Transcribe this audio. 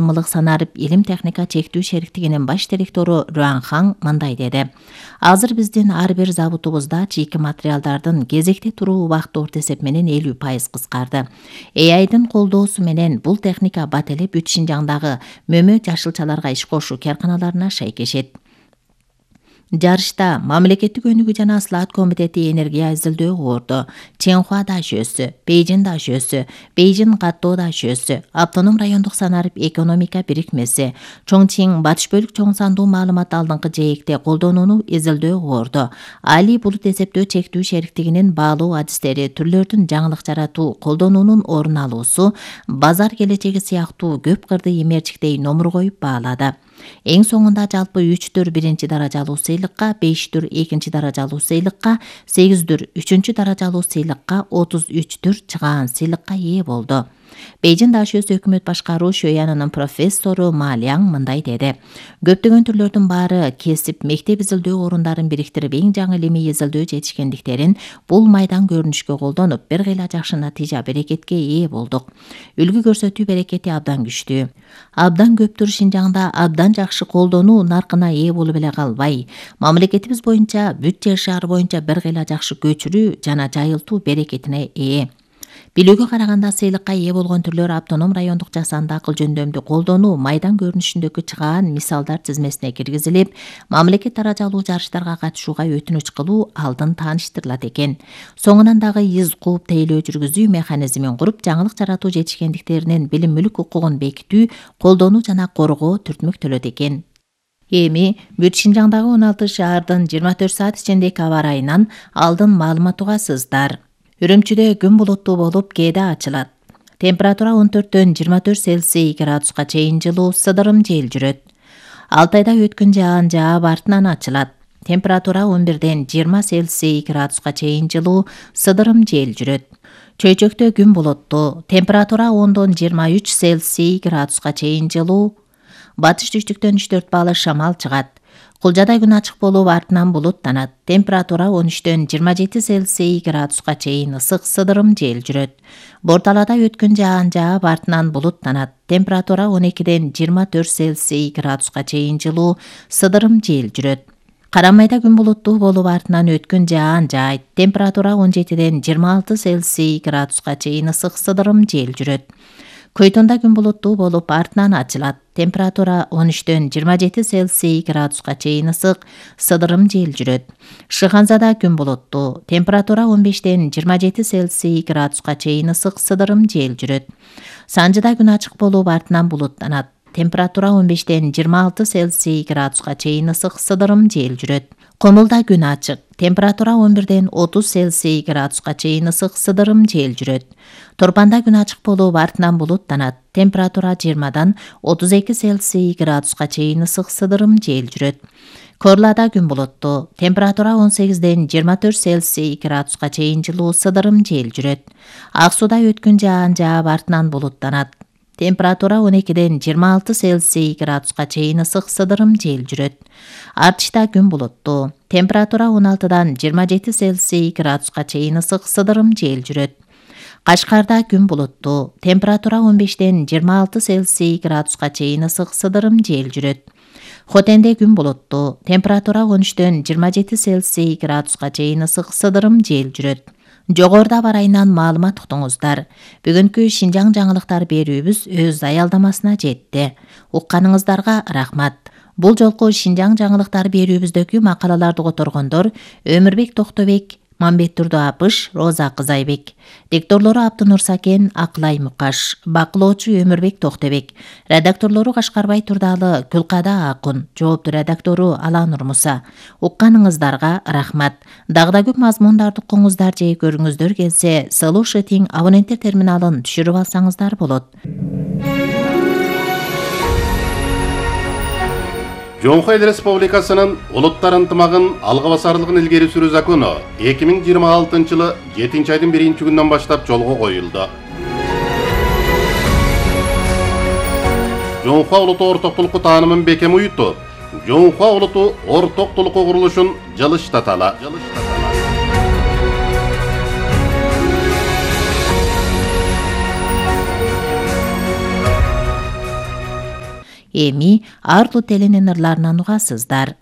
Мылык санарып илим техника чектүү шериктигинин баш директору Руан Хан мындай деди. Азыр биздин ар бир заводубузда чийки материалдардын кезекте туруу убакыты орто эсеп менен 50% кыскарды. AI'дын колдоосу менен бул техника бат эле бүт Шинжаңдагы мөмө жашылчаларга иш кошуу карканаларына шайкешет. Жарышта Мамлекеттик өнүгүү жана Аслаат комитети энергия изилдөө орду. Ченхуа дашөөсү, Бейжин дашөөсү, Бейжин каттоо дашөөсү, Автоном райондук санарып экономика бирикмеси, Чоңчин батыш бөлүк чоң сандуу маалымат алдыңкы жээкте колдонууну изилдөө орду. Али булут эсептөө чектүү шериктигинин баалоо адистери, түрлөрдүн жаңылык жаратуу, колдонуунун орун алуусу, базар келечеги сыяктуу көп кырды имерчиктей номур коюп баалады. Эң соңунда жалпы 3 биринчи даражалуу сыйлыкка, 5 экинчи даражалуу сыйлыкка, 8 үчүнчү даражалуу сыйлыкка, 33 чыгаан сыйлыкка ээ болду. Бейжин дашөөсү өкмөт башкаруу шөянынын профессору Ма Ляң мындай деди. Көптөгөн түрлөрдүн баары кесип, мектеп изилдөө орундарын бириктирип эң жаңы илимий изилдөө жетишкендиктерин бул майдан көрүнүшкө колдонуп, бир кыйла жакшы натыйжа берекетке ээ болдук. Үлгү көрсөтүү берекети абдан күчтүү. Абдан көптүр Шинжаңда абдан жакшы колдонуу наркына ээ болуп эле калбай, мамлекетибиз боюнча бүт жер шаары боюнча бир кыйла жакшы көчүрүү жана жайылтуу берекетине ээ. Билүүгө караганда сыйлыкка ээ болгон түрлөр автоном райондук жасанды акыл жөндөмдү колдонуу майдан көрүнүшүндөгү чыгаан мисалдар тизмесине киргизилип, мамлекет даражалуу жарыштарга катышууга өтүнүч кылуу алдын тааныштырылат экен. Соңунан дагы из кууп тейлөө жүргүзүү механизмин куруп, жаңылык жаратуу жетишкендиктеринин билим мүлк укугун бекитүү, колдонуу жана коргоо түртмөктөлөт экен. Эми бүт Шинжаңдагы 16 шаардын 24 саат ичиндеги аба ырайынан алдын маалымат угасыздар. Үрүмчүдө күн булуттуу болуп, кээде ачылат. Температура 14-төн 24 Цельсий градуска чейин жылуу, сыдырым жел жүрөт. Алтайда өткөн жаан жаап артынан ачылат. Температура 11-ден 20 Цельсий градуска чейин жылуу, сыдырым жел жүрөт. Чөйчөктө күн булуттуу. Температура 10-дон 23 Цельсий градуска чейин жылуу. Батыш түштүктөн 3-4 балл шамал чыгат. Кулжада күн ачык болуп, артынан булуттанат. Температура 13-төн 27 Цельсий градуска чейин ысык, сыдырым жел жүрөт. Борталада өткөн жаан жаап, артынан булуттанат. Температура 12-ден 24 Цельсий градуска чейин жылуу, сыдырым жел жүрөт. Карамайда күн булуттуу болуп, артынан өткөн жаан жаайт. Температура 17-ден 26 Цельсий градуска чейин ысык, сыдырым жел жүрөт. Көйтонда күн булуттуу болуп, артынан ачылат. Температура 13-төн 27 Цельсий градуска чейин ысык, сыдырым жел жүрөт. Шыханзада күн булуттуу. Температура 15-тен 27 Цельсий градуска чейин ысык, сыдырым жел жүрөт. Санжыда күн ачык болуп, артынан булуттанат. Температура 15-тен 26 Цельсий градуска чейин ысык, сыдырым жел жүрөт. Комулда күн ачык. Температура 11-ден 30 Цельсий градуска чейин ысык, сыдырым жел жүрөт. Торпанда күн ачык болуп, артынан булуттанат. Температура 20-дан 32 Цельсий градуска чейин ысык, сыдырым жел жүрөт. Корлада күн булуттуу. Температура 18-ден 24 Цельсий градуска чейин жылуу, сыдырым жел жүрөт. Ак сууда өткөн жаан жаап, артынан булуттанат. Температура 12-ден 26 Цельсий градуска чейин ысык, сыдырым жел жүрөт. Артышта күн булуттуу. Температура 16-дан 27 Цельсий градуска чейин ысык, сыдырым жел жүрөт. Кашкарда күн булуттуу. Температура 15-ден 26 Цельсий градуска чейин ысык, сыдырым жел жүрөт. Хотенде күн булуттуу. Температура 13-дөн 27 Цельсий градуска чейин ысык, сыдырым жел жүрөт. Жогоруда барайынан маалымат уктуңуздар. Бүгүнкү Шинжаң жаңылыктар берүүбүз өз аялдамасына жетти. Укканыңыздарга рахмат. Бул жолку Шинжаң жаңылыктар берүүбүздөгү макалаларды которгондор Өмүрбек Токтобек, Мамбет Турду Апыш, Роза Кызайбек. Дикторлору Абдынур Сакен, Акылай Мукаш. Бакылоочу Өмүрбек Токтобек. Редакторлору Кашкарбай Турдалы, Күлкада Акун. Жооптуу редактору Аланур Муса. Укканыңыздарга рахмат. Дагы көп мазмундарды укуңуздар же көрүңүздөр келсе, Слушать абоненттер терминалын түшүрүп алсаңыздар болот. Жоңхой Эл Республикасынын улуттар ынтымагын алга басарлыгын илгери сүрүү закону 2026 жылы 7-айдын 1-күнүнөн баштап жолго коюлду. Жоңхо улуту орток толуку таанымын бекем уютуп, Жоңхо улуту орток толуку курулушун жылыштаталы. Эми Арлу телинин ырларынан угасыздар.